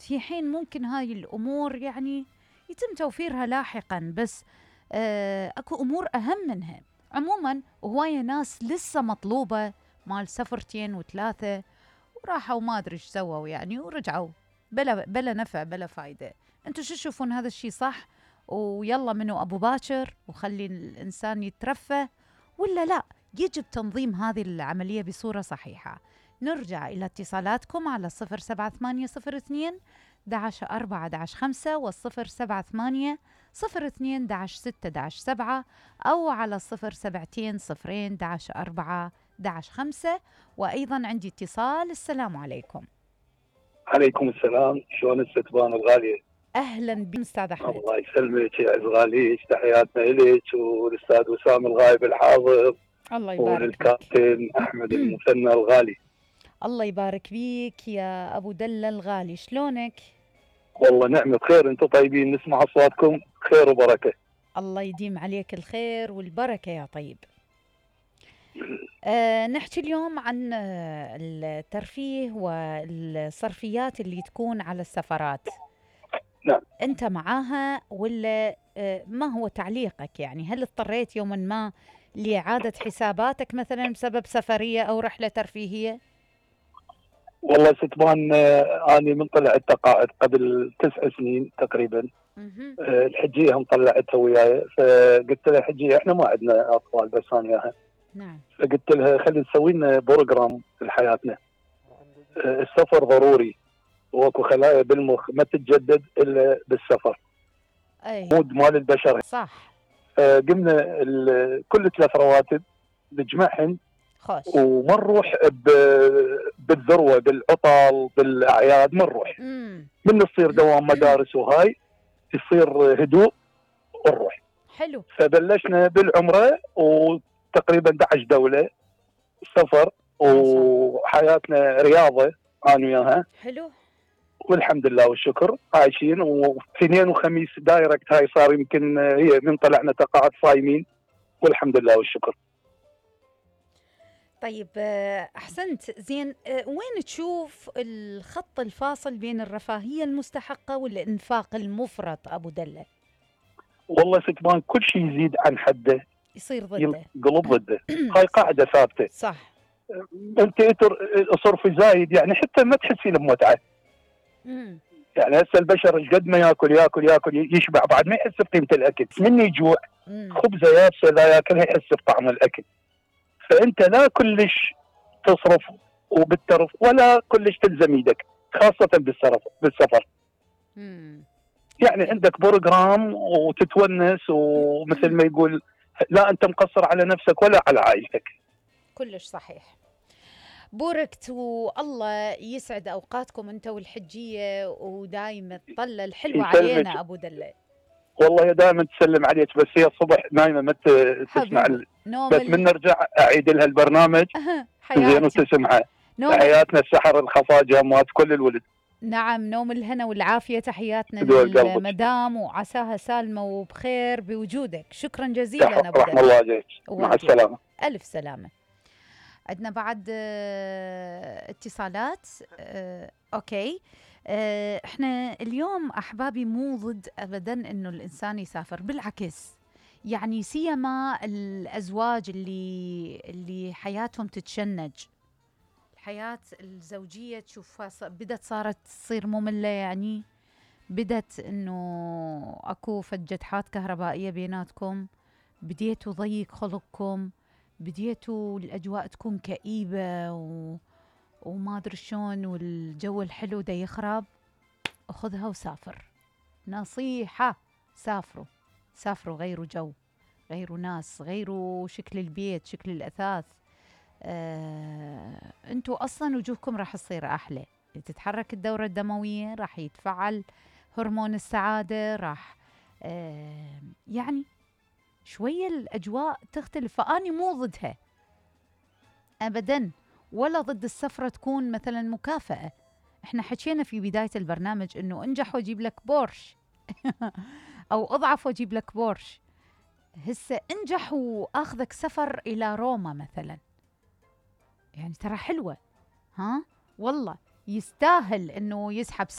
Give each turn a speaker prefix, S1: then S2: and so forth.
S1: في حين ممكن هاي الأمور يعني يتم توفيرها لاحقا، بس أكو أمور أهم منها. عموما هواية ناس لسه مطلوبة مال سفرتين وثلاثة وراحوا ما أدري إيش سووا يعني ورجعوا بلا نفع بلا فايدة. أنتوا شو تشوفون هذا الشي صح ويلا منه أبو باكر وخلي الإنسان يترفه، ولا لا يجب تنظيم هذه العملية بصورة صحيحة؟ نرجع إلى اتصالاتكم على 07802 11 4 11 5 و078 02 11 6 7 أو على 072 0 11 4 11 5. وأيضا عندي اتصال. السلام عليكم.
S2: عليكم السلام، شلون الستبان الغالية؟
S1: أهلا بك أستاذ أحمد.
S2: الله يسلمك يا غالي، تحياتنا إليك والأستاذ وسام الغايب الحاضر.
S1: الله يبارك
S2: والكابتن أحمد المثنى الغالي.
S1: الله يبارك فيك يا أبو دلة الغالي، شلونك؟
S2: والله نعمة خير، أنتم طيبين، نسمع أصواتكم خير وبركة.
S1: الله يديم عليك الخير والبركة يا طيب. نحكي اليوم عن الترفيه والصرفيات اللي تكون على السفرات.
S2: نعم.
S1: أنت معاها ولا ما هو تعليقك؟ يعني هل اضطريت يوما ما لإعادة حساباتك مثلا بسبب سفرية أو رحلة ترفيهية؟
S2: والله ستبان أنا من طلعت تقاعد قبل 9 سنين تقريبا. الحجية هم طلعتها وياي، فقلت لها حجية احنا ما عندنا أطفال بس أنا وياها.
S1: نعم.
S2: فقلت لها خلي نسوي لنا بروجرام لحياتنا. السفر ضروري، واكو خلايا بالمخ ما تتجدد الا بالسفر.
S1: اي
S2: مود مال البشر.
S1: صح.
S2: قمنا كل 3 رواتب نجمعهن وما نروح بالذروه بالعطل بالاعياد، ما نروح. من تصير دوام مدارس وهاي يصير هدوء ونروح.
S1: حلو.
S2: فبلشنا بالعمره وتقريبا 11 دوله سفر وحياتنا رياضه انا وياها.
S1: حلو
S2: والحمد لله والشكر عايشين. واثنين وخميس دايركت هاي صار يمكن هي من طلعنا تقاعد صايمين والحمد لله والشكر.
S1: طيب أحسنت. زين وين تشوف الخط الفاصل بين الرفاهية المستحقة والإنفاق المفرط أبو دلة؟
S2: والله ستبان كل شيء يزيد عن حده
S1: يصير ضده،
S2: ينقلب ضده. هاي قاعدة ثابتة.
S1: صح.
S2: انت صرف زايد يعني حتى ما تحسين بمتعة. يعني هسه البشر ايش قد ما ياكل يشبع بعد ما يحس بقيمة الأكل، من يجوع خبزة يابسة لا ياكلها يحس بطعم الأكل. فأنت لا كلش تصرف وبالترف ولا كلش تلزم يدك، خاصة بالسفر. يعني عندك بروجرام وتتونس، ومثل ما يقول لا أنت مقصر على نفسك ولا على عائلتك.
S1: كلش صحيح. بوركت والله يسعد أوقاتكم أنت والحجية، ودايما الطلة الحلوة علينا أبو دلة.
S2: والله دائما تسلم عليك، بس هي الصبح نايمة ما تسمع بس من نرجع أعيد لها البرنامج زين وتسمعها. تحياتنا السحر الخفاجة مات كل الولد.
S1: نعم، نوم الهنا والعافية، تحياتنا للمدام وعساها سالمة وبخير بوجودك. شكرا جزيلا أبو دلة.
S2: رحم الله عليك، مع السلامة.
S1: ألف سلامة. عندنا بعد اتصالات. أوكي. احنا اليوم أحبابي مو ضد أبدا إنه الإنسان يسافر، بالعكس يعني سيما الأزواج اللي حياتهم تتشنج، الحياة الزوجية تشوفها بدت صارت تصير مملة، يعني بدت إنه أكو فجتحات كهربائية بيناتكم، بديتوا ضيق خلقكم، بديتوا الأجواء تكون كئيبة وما أدري شلون، والجو الحلو دا يخرب. أخذها وسافر. نصيحة، سافروا، غيروا جو، غيروا ناس، غيروا شكل البيت، شكل الأثاث. أنتوا أصلا وجوهكم راح تصير أحلى، تتحرك الدورة الدموية، راح يتفعل هرمون السعادة، راح يعني شوية الأجواء تختلف. فأني مو ضدها أبداً، ولا ضد السفرة تكون مثلاً مكافأة. إحنا حكينا في بداية البرنامج إنه انجح وأجيب لك بورش أو أضعف وأجيب لك بورش. هسه انجح وأخذك سفر إلى روما مثلاً، يعني ترى حلوة، ها والله يستاهل إنه يسحب